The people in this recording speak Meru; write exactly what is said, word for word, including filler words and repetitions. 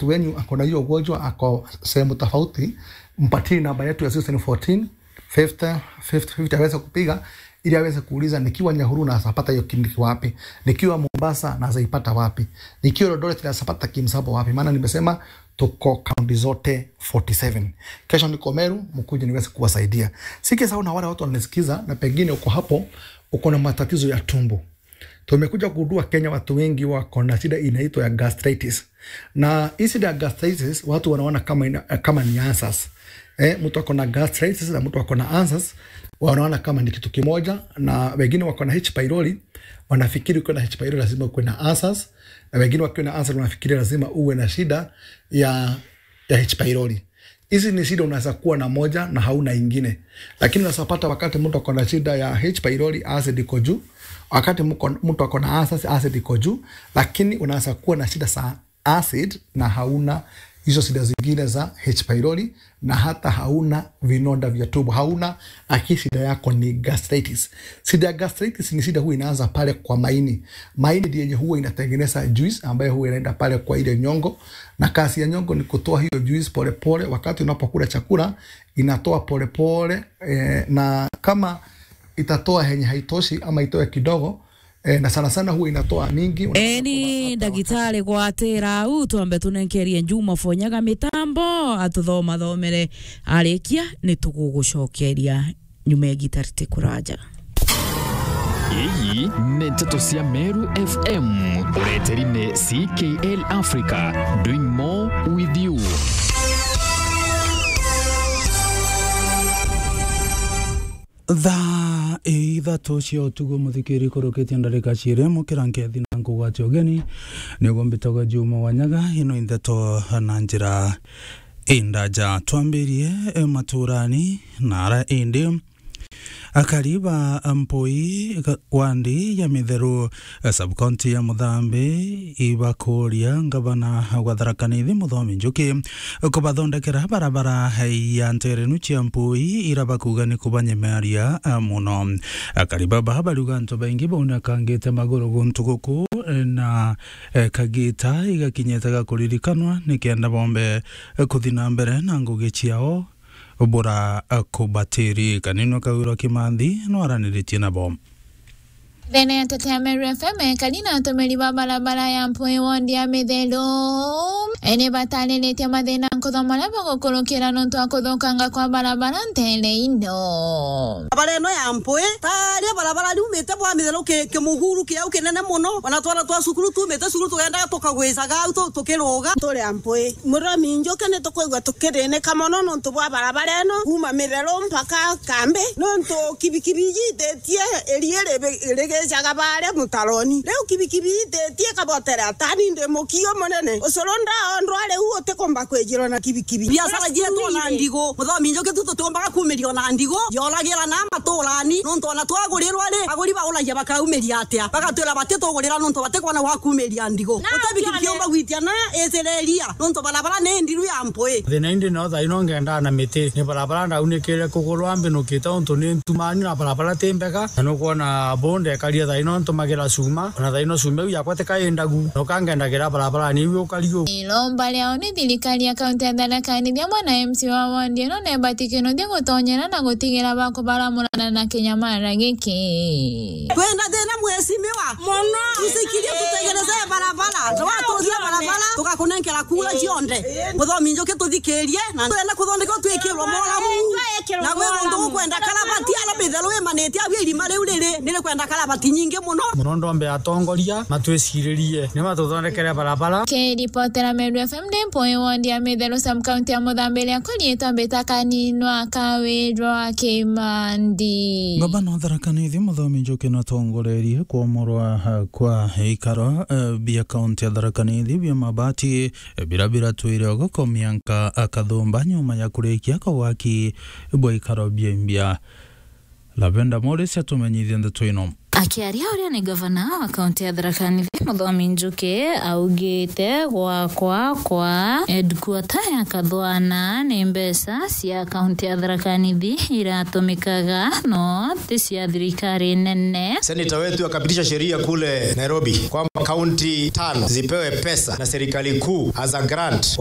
mtu wenyu ako na hiyo ugonjwa, ako sehemu tofauti, mpatie namba yetu ya zero seven fourteen, fifty, fifty, fifty aweze kupiga, ili aweze kuuliza nikiwa Nyahururu naweza pata hiyo kliniki wapi, nikiwa Mombasa naweza ipata wapi, nikiwa Eldoret naweza pata Kimsabo wapi, maana nimesema tuko kaunti zote forty seven. Kesho niko Meru, mkuje niweze kuwasaidia. Sike sawa na wale watu wananisikiza, na pengine uko hapo, uko na matatizo ya tumbo. Tumekuja kugundua Kenya watu wengi wako na shida inaitwa ya gastritis. Na hii shida ya gastritis, watu wanaona kama ina, kama ni ulcers. Eh, mtu ako na gastritis na mtu ako na ulcers, wanaona kama ni kitu kimoja, na wengine wako na H pylori, wanafikiri ukiwa na H pylori lazima uwe na ulcers, na wengine wakiwa na ulcers wanafikiri lazima uwe na shida ya, ya H pylori. Hizi ni shida unaweza kuwa na moja na hauna ingine. Lakini unaweza pata wakati mtu ako na shida ya H pylori, acid iko juu, wakati mko-, mtu ako na ulcers, acid iko juu, lakini unaweza kuwa na shida za acid na hauna hizo shida zingine za H pylori, na hata hauna vinonda vya tumbo, hauna, aki shida yako ni gastritis. Shida ya gastritis ni shida huwa inaanza pale kwa maini. Maini ndiye yenye huwa inatengeneza juice ambayo huwa inaenda pale kwa ile nyongo, na kazi ya nyongo ni kutoa hiyo juice polepole. Wakati unapokula chakula, inatoa polepole, eh, na kama itatoa henye haitoshi ama itoe kidogo, eh, na sana sana huwa inatoa mingi, unapata kwamba after ndagitari gwatira au, twambe tunenkerie Juma Fonyaga mitambo, atuthomathomere, arikia ni tugugucokeria nyuma ya gita ritikuraja. Iyi ni nteto cia Meru F M, ureteri ni C K L Africa, doing more with you. Thaa ithatu cia utuku, muthikiri, kurukitie ndarika ciiri, mukira nkethi na nkugwati ugeni. Niguo mbitagwa Juma Wanyaga, ino i nteto na njira indaja. Twambirie, eh, maturani na ara indi. Akari ba Mpui ka-, wandi ya Mitheru, eh, sub-county ya Muthambi, ibakuria ngavana wa Tharaka Nithi Muthomi Njuki kubathondekera barabara ya nterenu cia Mpui, ira bakuga ni kubanyemeria, eh, muno. Akari baba bariuga antu baingi baunikangite maguru guntu guku, eh, na, eh, kagita igakinyite ga kuririkanwa nikenda bombe, eh, kuthi na mbere na ngugi ciao bura, eh, kubatiri. Kanini Kawirwa Kimanthi nwaraniritie nabo. Thene ya nteto ya Meru F M, ekari na atumiri ba barabara ya Mpui wondi ya Mitheru, eh, ni batariritie mathina nkuthoma maria bagukurukira nontu wa kuthukanga kwa barabara ntere ino. Barabara ino ya Mpui, taria barabara riumite bwa Mitheru ki-, kimuguru kiau kinene muno, ona twana twa cukuru tumite cukuru tugendaga tukagwicaga au tu-, tukiruga. Turi Mpui. Muthomi Njuki ni tukwigua tukithinika mono nontu bwa barabara ino, kuuma Mitheru mpaka Kambi, nontu kibikibi ijitetie iria ri-, rigicaga baria mutaroni. Riu kibikibi ijitetie ikabotera tani ndi mukio munene. Ucuru ndaondwa riu utikumba kwijirwa na kibikibi. Biacara cietu ona ndigu. Muthomi Njuki tu tutiumbaga kuumiria ona ndigu. Yoragira na maturani, nontu ona twagurirwa ri, aguri bauragia bakaumiria atia? Bagatwira batitugurira nontu batikwona gwa kuumiria ndigu. Uti bikibikiumba gwitia na icireria, nontu barabara ni ndiru ya Mpui. Thina indi no thaino ngendaa na miti. Ni barabara ndaunikire kugurwa mbinukite untu ni ntumani na barabara ti mbega. Na nukwona bo ndekaria thaino ntumagira cuma. Ona thaino cuma iu yakwa tikaindagu. Noka ngendagira barabara ni iu ukari u. Iromba riao ni thirikari ya kaunti ya Tharaka Nithi amwe na M C wa wondi ino nebati kinothia gutonyera na gutigira bakubaramurana na kinyamara giki. Twina thina, mheshimiwa. Mono. Tusikirie, tutegereze barabara. Twatuthia barabara, tugakunenkera kura cionthe. Muthomi Njuki tuthikirie, na twenda kuthondekwa twikirwo moramu. Na gwi guntu gukwenda karabati, ara Mitheru imanitie, abia irima riu riri, nirikwenda karabati nyingi muno. Muno ndombe atongoria, matwiciririe, ni matuthondekere barabara. Kiripotera Meru F M ndi Mpui wondi ya Mitheru sub-county ya Muthambi, riakwa riitwa mbita Kaninwa Kawirwa Kimandi. Ngavana wa Tharaka Nithi Muthomi Njuki natongorerie kwomorwa, eh, kwa ikaro, eh, bia kaunti ya Tharaka Nithi bia mabati, eh, bira biratwire ogokomia nka akathumba nyuma ya kurikia kwa waki bwa ikaro bia imbia. Lavenda Morris atumenyithie ndeto ino. Akiaria uria ni gavana wa kaunti ya Tharaka Nithi, Muthomi Njuki, augite gwakwa kwa headquarter ya Kathwana ni mbeca cia kaunti ya Tharaka Nithi iratumikaga, no ti cia thirikari nene. Senator wetu akapitisha sheria kule Nairobi kwamba kaunti tano zipewe pesa na serikali kuu as a grant